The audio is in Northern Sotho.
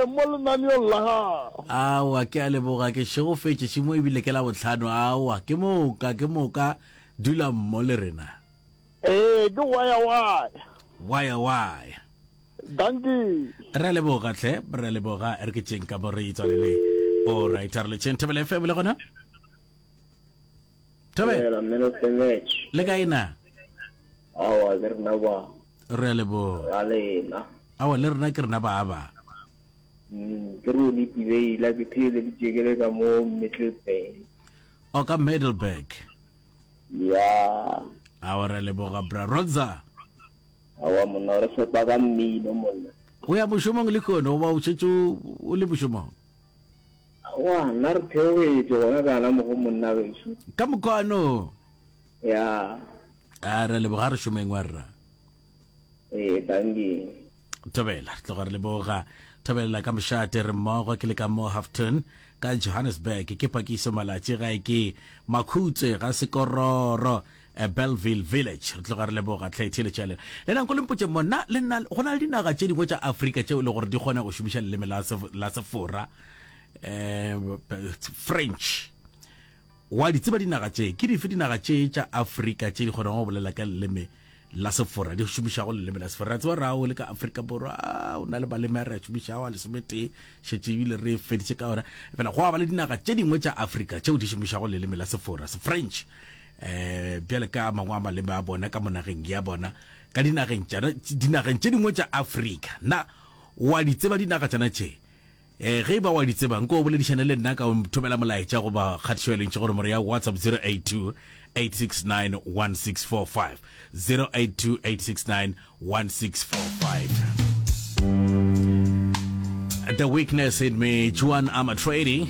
Ee, mo lenaneong la gago. Aowa, ke a leboga, ke šegofetše, šimo ebile ke Labohlano. Aowa, ke moka, ke moka, dula mmo le rena. Ee, ke waya waya. Waya waya. Dankie. Re a leboga hle, re a leboga, re ke tšeng ka mo re itswalele. All right, a re letšeng Thobela FM le gona. Thobela. Le kae na? Aowa, ke rena ba. Re a leboga. Ra lena. Aowa, le rena ke rena ba ba. Ke Roni Tibeila, ke theeleditše ke le ka mo Middelburg. O ka Middelburg. Ya. Aowa, re a leboga bra Rodza. Aowa monna, re fepa ka mmino monna. O ya mošomong lehono goba o šetše o le mošomong? Aowa, nna re theogetše gona kana mo go monna gešo. Ka mokwano. Ya. A re leboga re šomeng wa rra. Ee, dankie. Thobela, re tloga re leboga. Thobela ka mošate re mmogo ke le ka mo Houghton ka Johannesburg ke Pakiso Malatši gae ke Makhutse ga Sekororo eh, Bellville Village. Re tloga re leboga tlhe theeletša lena. Le nang ko le mpotše mo na le nna go na le dinaga tše dingwe tša Afrika tšeo e le gore di kgona go šomiša leleme la la Sefora eh French. Wa di tseba dinaga tše? Ke dife dinaga tše tša Afrika tše di kgonago go bolela ka leleme la Sefora, di šomišago leleme la Sefora? Re a tseba gore ao le ka Afrika Borwa o na le maleme a re a šomišago a lesometee, šetše ebile re feditše ka ona. Fela go a ba le dinaga tše dingwe tša Afrika tšeo di šomišago leleme la Sefora, Sefrench, um bjale ka a mangwe a maleme a bona ka mo nageng ya bona, ka dinageng tšana, dinageng tše dingwe tša Afrika. Na wa di tseba dinaga tšana tše? Ee, ge e ba wa di tseba, nko o boledišane le nna ka o thomela molaetša goba kgatišo ya lentšu go nomoro ya WhatsApp 082 869 1645. 082 869 1645. The Weakness in Me, Juan Amatrady.